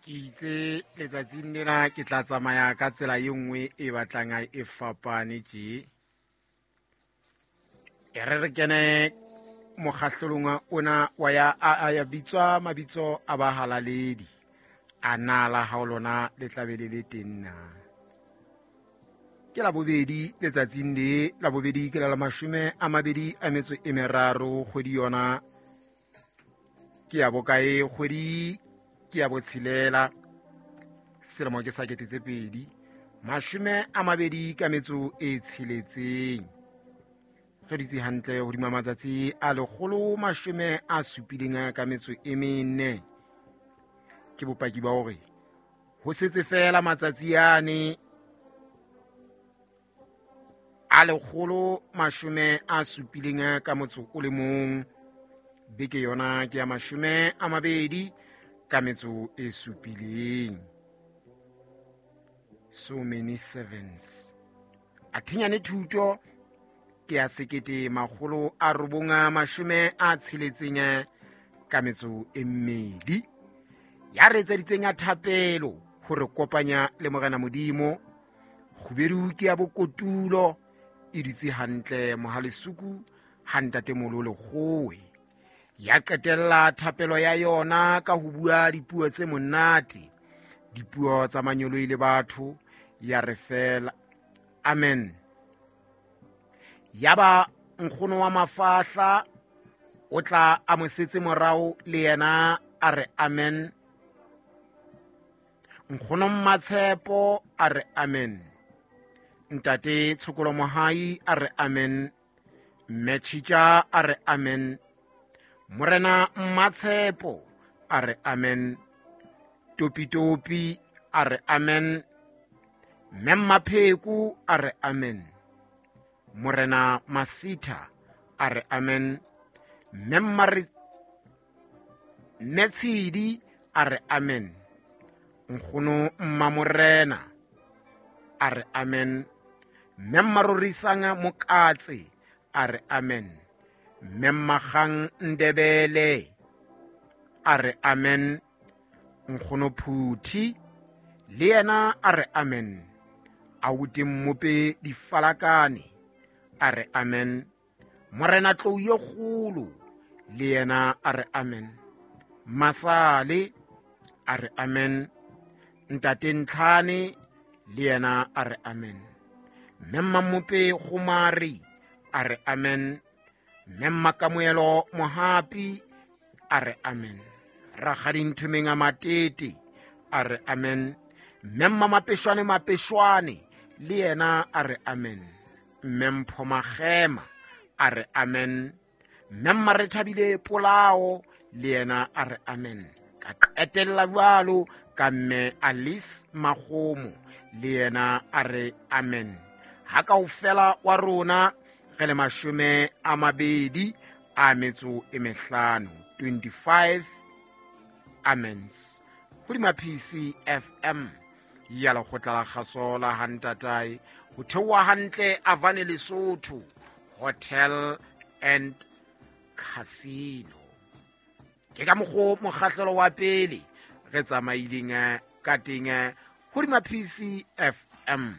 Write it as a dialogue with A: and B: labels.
A: Ke itse letsatsing lena ke tla tsamaya ka tsela e nngwe e batlang e fapane tje. E re re kene mokgahlelong ona wa ya a ya bitswa mabitso a bahalaledi. A na la hao lona le tla be le le teng na? Ke la bobedi letsatsing le la bobedi ke la la 23 kgwedi yona ke ya bokae? Kgwedi ke ya botshelela, selemo ke sa 2026. Re dutse hantle hodima matsatsi a 174. Ke bopaki ba hore ho setse fela matsatsi ane a 171. Beke yona ke ya 27. So many sevens. A thinyane thuto ke ya 1962. Ya re etseditseng ya thapelo hore kopanya le Morena Modimo. Kgubedu ke ya bokotulo e dutse hantle mohalesuku ha ntatemolo lekgowe. Ya qetella thapelo ya yona ka ho bua dipuo tse monate, dipuo tsa manyoloi le batho, ya re fela amen. Yaba nkgono wa mafahla o tla a mo setse morao le yena a re amen. Nkgono Mmatshepo a re amen. Ntate Tshokolo Mohai a re amen. Mme Tshitja a re amen. Morena Mmatshepo a re amen. Topitopi a re amen. Mme Mmapheko a re amen. Morena Masitha a re amen. Mme Tshidi a re amen. Nkgono Mmamorena a re amen. Mme Mmarorisang Mokatse a re amen. Mme Mmagang Ndebele a re amen. Nkgono Phuthi le yena a re amen. Auti Mmope Difalakane a re amen. Morena Tlou ye kgolo le yena a re amen. Masale a re amen. Ntate Ntlhane le yena a re amen. Mme Mmamope Gomari a re amen. Mme Mmakamoelo Mohapi a re amen. Rakgadi Nthomeng a Matete a re amen. Mme Mmamapeshwane Mapeshwane le yena a re amen. Mme Mpho Magema a re amen. Mme Mmarethabile Polao le yena a re amen. Ka qetella jwalo ka mme Alice Magomo le yena a re amen. Ha kaofela wa rona re le 25, 25 amens. Hodima PCFM ya lekgotla la kgaso la Hantatae ho theoha hantle Avane Lesotho Hotel and Casino. Ke ka mokgo mokgahlelo wa pele re tsamaileng ka teng hodima PCFM.